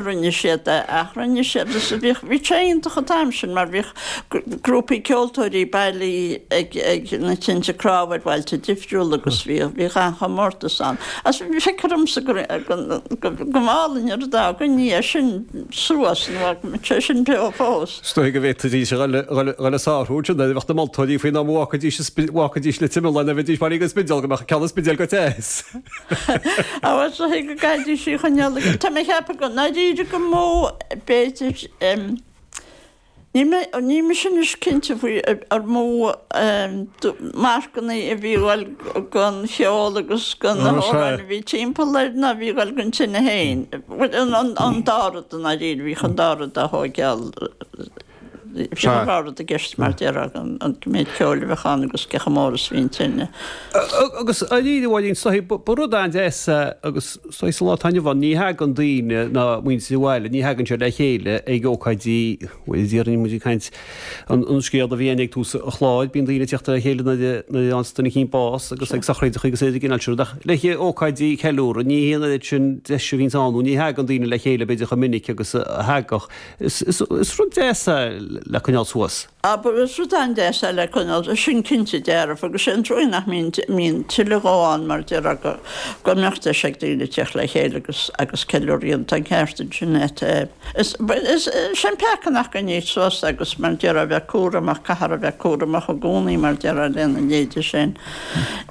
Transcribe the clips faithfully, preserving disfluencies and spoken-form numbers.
Rinne siad é ach rinne siad is bhíodh bhí sé iontach an t-am sin mar bhíodh grúpaí ceoltóirí bailithe ag ag na tinte cnámha ar bhailte difriúla agus bhíodh bhíodh an-chomórtas ann. Agus feictear domsa go go go mb'álainn an rud é go ndéanfaí sin suas nó go mbeadh sé sin beo fós. Is dóigh go bhféadfaidís a dhul a sárú ansin nuair a bheadh na moltóirí faoin am a bhfágfaidís bhfágfaidís Leitir Mealláin a bheidís bailithe ag an Spidéal go mbeadh ceann an Spidéil go deas. Á is dóigh go gcaithfidís í a choinneáil Tá mé ag ceapadh go ndáiríre go mó b'fhéidir níl mé níl mise anois cinnte faoi ar mó marcanna a bhí ag dul don cheol agus do na hamhráin a bhí timpeall air ná a bhí ag dul don tine féin. An dá rud i ndáiríre, bhíodh an dá rud á thóigeáil. Bhí an dá rud i gceist mar déarfá, an méid ceoil a bheadh ann agus cé chomh mór is a bhí an tine. Agus dáiríre a Mháirín, is dóigh, ba rud an-deas é agus is dóigh sa lá atá inniu ann, ní thagann daoine ná muintir an bhaile, ní thagann siad le chéile ag ócáidí, bhuel déarfainn muid ag caint an scéal a bhí againn ag tús an chláir, bíonn daoine ag teacht le chéile nuair a fhaigheanns duine eicínt bás agus ag sochraidí agus ar an gcineál sin rud ach le haghaidh ócáidí ceiliúradh, ní hé an oiread sin deis a bhíonns ann nó ní thagann daoine le chéile b'fhéidir chomh minic agus a thagadh. Is rud deas é le coinneáil suas. Abair, is rud an-deas é le coinneáil, sin cinnte dearfa, agus sé an trua nach mbíonn tuilleadh dhó ann mar déarfá go go mbeadh deis ag daoine teacht le chéile agus agus ceiliúradh a dhéanamh, tá an ceart ansin agat. Is is sé an peaca nach gcoinnítear suas é agus mar déarfá bheith cúramach, caithfear a bheith cúramach i gcónaí mar déarfá lena leithéide sin.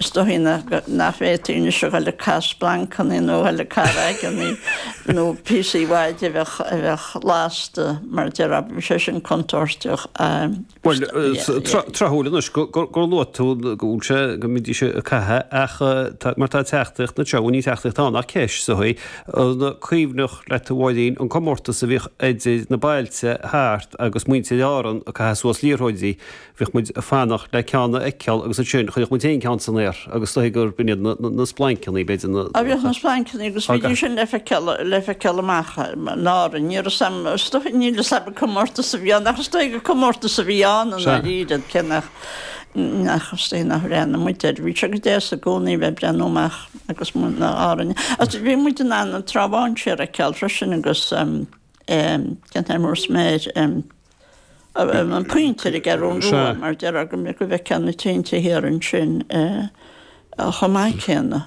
Is dóichí nach bhféadfaí anois a dhul ag caitheamh splancanna nó a dhul ag caitheamh raigeanna nó píosaí maide a bheadh a bheadh lasta mar déarfá, bhí sé sin contúirteach. Bhuel, tráthúil anois gur luaigh tú go bhfuil sé, go mbídís ag caitheamh ach mar tá teachtaireacht anseo, bhuel ní teachtaireacht ann ach ceist is dóichí, an cuimhneach leat a Mháirín an comórtas a bhíodh idir na bailte thart agus muintir Árann ag caitheamh suas liathróidí Bhíodh muid ag fanacht le ceann a fheiceáil agus ansin chuireadh muid féin ceann san aer agus is dóigh gurb in iad na splancanna, b'fhéidir na. Á bhíodh na splancanna agus bhídís sin le feiceáil, le feiceáil amach in Árainn. Ní raibh 'fhios a'm, is dóigh, níl 'fhios a'm an comórtas a bhí ann ach is dóigh gur comórtas a bhí ann i ndáiríre, cé nach, nach, is dóigh nach bhreathnaigh muid air. Bhí sé go deas i gcónaí a bheith ag breathnú amach agus muid in Árainn. Agus bhí muid in ann an Trá Bháin siar a fheiceáil freisin agus cén t-ainm a raibh air, an Pointe ar an gCeathrú Rua mar déarfá go mbeadh go bhfeicfeá na tinte thiar ansin chomh maith céanna.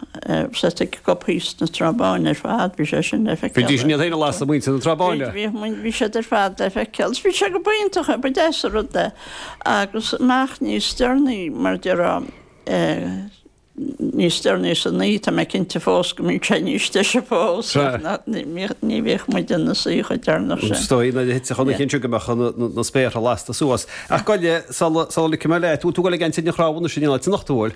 Sea, ag gobthaí sna Trá Báine ar fad, bhí sé sin le feiceáil. Bhídís iad féin a lasadh muintir na Trá Báine. Bhí, bhí siad ar fad le feiceáil. Bhí sé go b'iontach é, ba deas an rud é. Agus amach níos deireanaí mar déarfá, Níos deireanaí san oíche, tá mé cinnte fós go mbíodh sé níos deise fós, ach ní bhíodh muid ina suí chomh deireanach sin. Is dóigh nuair a thitfeadh an oíche ansin go mbeadh na spéartha lasta suas. Ach gabh i leith, sula ligfidh mé leat, bhfuil tú ag dul ag an tine chnámha anois in áit anocht, an bhfuil?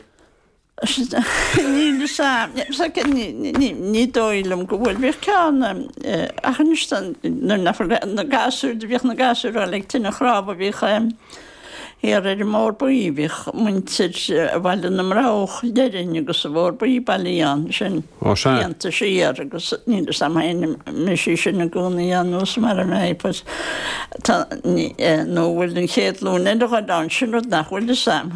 Níl fhios a'm, ní dóigh liom go bhfuil. Bhíodh ceann, ach anois nuair nach bhfuil na gasúir, bhíodh na gasúir ag dul ag tine chnámha, bhíodh. Thiar ar an mBóthar Buí bhíodh muintir Bhaile na mBroghach, déarfainn, agus an Bóthar Buí bailithe ann, sin blianta siar agus níl fhios a'm féin an mbeidh sí sin i gcónaí ann nó mar a mbeidh but tá nó an bhfuil an chéad ghlúin eile ag dul ann, sin rud nach bhfuil fhios a'm.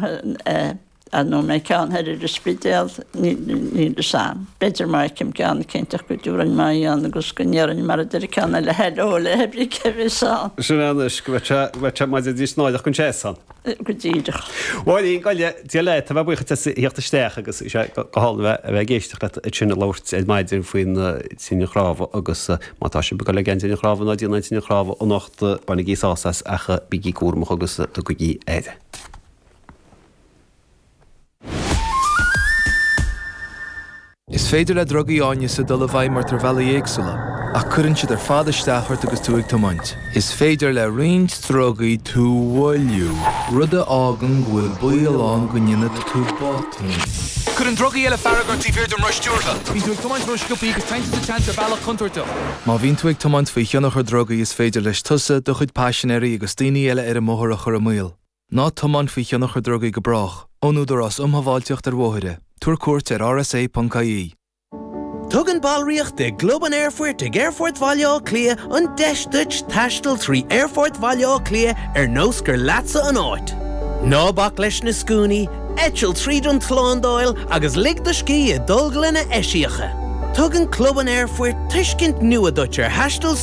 Nó an mbeidh ceann thoir ar an Spidéal, níl fhios a'm. B'fhéidir má fheicim ceann eicínt go dtabharfainn m'aghaidh ann agus go ndéarfainn mar a deir an ceann eile hello le pé ar bith a bheas ann. Sin é anois, go mbeadh sé, go mbeadh sé maidir níos náireach don té san. Go díreach. Mháirín, gabh i leith, Dia leat, tá mé buíoch duit as a theacht isteach agus is é go hálainn a bheith, a bheith ag éisteacht leat ansin ag labhairt ar maidin faoin tine chnámha agus má tá sibh ag dul ag an tine chnámha ná déanamh an tine chnámha anocht, bainigí sásamh as ach bígí cúramach agus tugaigí aire. Is féidir le drugaí áineasa dul i bhfeidhm ort ar bhealaí éagsúla, ach cuireann siad ar fad isteach ort agus tú ag tiomáint. Is féidir le roinnt drugaí tú a mhoilliú, rud a fhágann go bhfuil baol ann go ndéanfaidh tú botún. Cuireann drugaí eile fearg ort taobh thiar den roth stiúrtha. Bíonn tú ag tiomáint rósciobtha agus téann tú sa tseans ar bhealach contúirteach. Má bhíonn tú ag tiomáint faoi thionchar drugaí is féidir leis tusa, do chuid paisinéirí agus daoine eile ar an mbóthar a chur i mbaol. Ná tiomáin faoi thionchar drugaí go brách. Ón Údarás um Shábháilteacht ar Bhóithre. Tabhair cuairt ar rsa.ie. Tugann ballraíocht i gClub an Aerfoirt ag Aerfort Bhaile Átha Cliath an deis duit taisteal trí Aerfort Bhaile Átha Cliath ar nós gur leatsa an áit. Ná bac leis na scuainí, eitil tríd an tslándáil agus lig do scíth i dtolglanna eisiacha. Tugann Club an Aerfoirt tuiscint nua duit ar thaisteal